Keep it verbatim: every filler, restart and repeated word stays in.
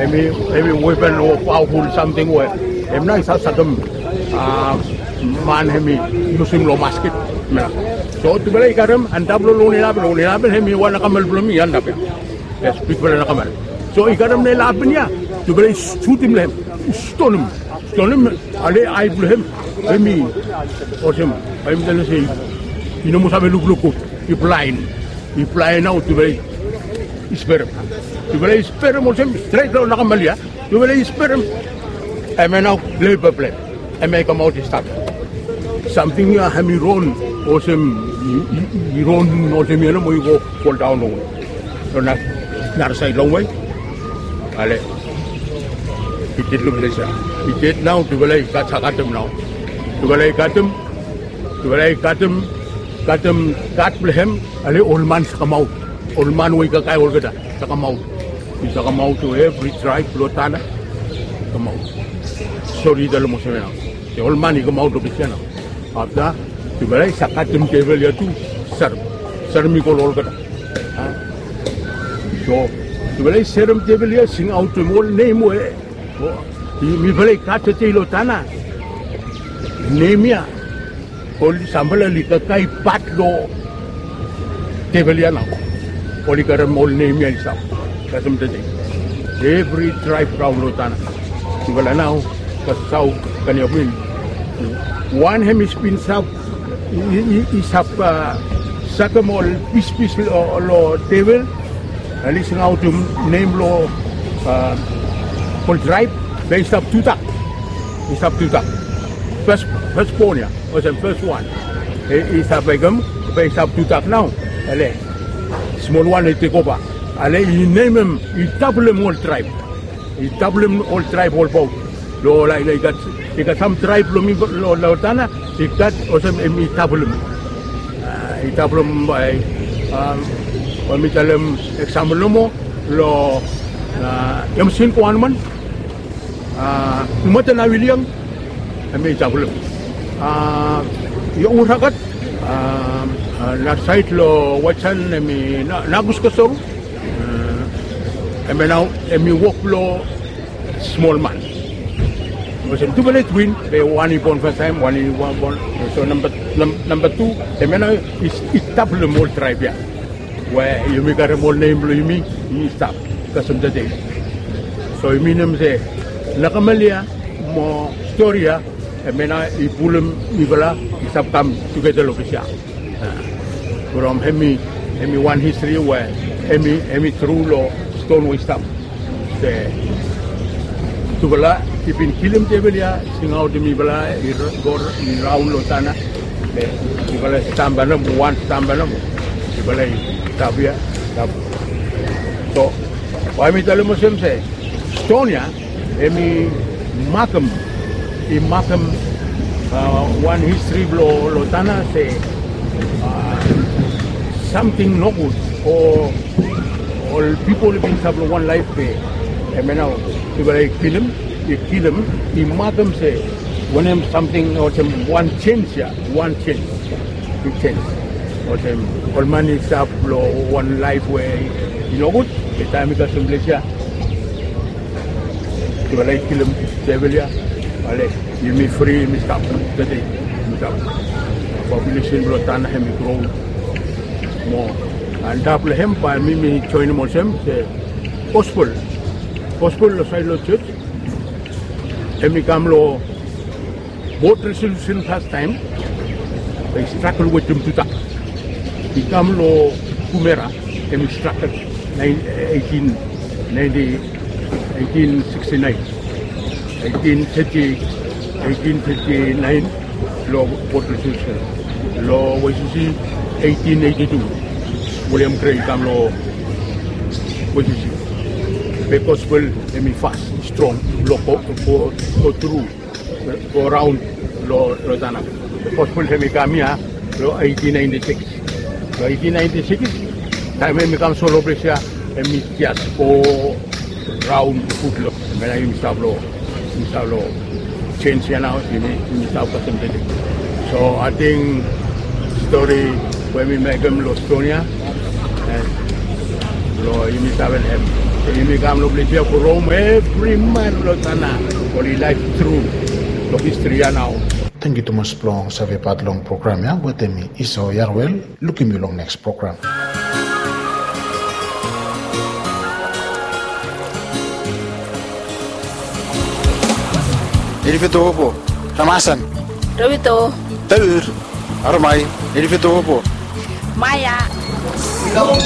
Hemi, hemi weapon o powerful samting we hem nao i save sakem, a, man hemi yusum long masket. So tufala i karem antap long long nelapen, long nelapen hemi wan nakamal blong mi antap ya. Yes, bigfala nakamal. So i karem nelapen ya, tufala i sutim long hem, i stonem, stonem, ale ai blong hem hemi olsem, hemi talem se i no moa save lukluk gud, i blaen. I blaen nao, tufala i sperem. Tufala i sperem olsem stret long nakamal ya. Tufala i sperem. Hemia nao leba blong hem, hemia i kamaot i stap. Samting ya hemi ron olsem, i, i, i ron olsem ya nomo, i go foldaon longwe. Long nara saed longwe. Ale i ded long ples ya. I ded nao, tufala i gat, sakatem nao. Tufala i katem, tufala i katem, katem gat blong hem. Ale ol man i save kamaot. Ol man we i kakae olgeta i save kamaot. I save kamaot, evri traeb blong Tanna i kamaot. Stori i talem olsem ya nao. Ol man i kamaot long ples ya nao. Afta tufala i save katem tebol ya tu, serem, serem i go long olgeta. So tufala i serem tebol ya, singaotem ol nem we mifala i gat tede long Tanna. Nem ya oli samfala oli kakae pat long tebol ya nao. Oli karem ol nem ya i stap kasem tede. Evri traeb raon long Tanna. Tufala nao, kasem saut kaniapin. Wan hemi bin save, i, i, i save, a, sakem ol pispis long, long tebol. Ale i singaotem nem long, a, ol traeb, be i stap tudak. I stap tudak. Fes, fes bon ya, olsem fes wan. I, i stap mekem, be i stap tudak nao. Ale smolwan i tekova. Ale i nemem, i tablem ol traeb. I tablem ol traeb olbaot. Long, laik, i gat, i gat sam traeb blong mi long, long Tanna, i gat olsem hemi tablem. A, i tablem bae, a, bae mi talem eksampol nomo long, a, Yamsin Koanman, a, Matan Awiliang, hemi tablem. A, Youragat, a, a, nara saed long Waitsan hemi Na, Nagus Kosoru. A, hemia nao hemi wok blong smol man. Olsem tufala i twin, be wan i bon fastaem, wan i, wan bon. So namba, nam, namba tu, hemia nao i, i tablem ol traeb ya. We yumi karem ol nem blong yumi, i stap kasem tede. So i minim se nakamal ya mo stori ya, hemia nao i pulum mifala i stap kam tugeta long ples ya. A, from hemi, hemi wan histri we hemi, hemi tru long ston we i stap. Se tufala i bin kilim tebol ya, singaotem mifala i r-, go r-, i raon long Tanna. Be mifala i stap bae nomo, wan stap bae nomo. Mifala i stap ya, stap. So bae mi talem olsem se ston ya hemi makem, i makem, a, wan histri blong, long Tanna se, a, samting nogud o ol pipol i bin stap long wan laef be hemia nao tufala i kilim, i kilim, i makem se wanem samting olsem wan jenis ya, wan jenis. Big jenis. Olsem ol man i stap long wan laef we i nogud, be taem i kasem ples ya, tufala i kilim tebol ya, ale yumi fri, yumi stap tede, yumi stap. Populesen blong Tanna hemi gro moa. Antap long hem bae mi, mi joenem olsem se gospel, gospel long saed long jos hemi kam long Board Resolution fastaem, be i stragel wetem tudak. I kam long Kumera, hemi stragel, naen, eitin naenti, eitin siksti naen, eitin teti, eitin teti naen, long Board Resolution. Long Wesisi, eitin eiti tu, William Grey i kam long Wesisi. Be gospel hemi fas, i strong blong go, go, go tru, go raon long, long Tanna. Gospel hemi kam ya long eitin naenti sikis. Long eitin naenti sikis, taem hemi kam solo ples ya, hemi jes go raon gud long. Hemia nao yumi stap long, yumi stap long jenis ya nao, yumi, yumi stap kasem tede. So ating stori we mi mekem long ston ya, a, blong yumi stap long hem. Yumi kam long ples ya from evri man long tana oli laef tru long histri ya nao. Tangkiu tumas blong save pat long program ya wetem mi Iso Yarwel. Lukim yu long neks program. Elifetopo, Ramasan, Rovito, Taur, Aromai, Elifetopo, Maya.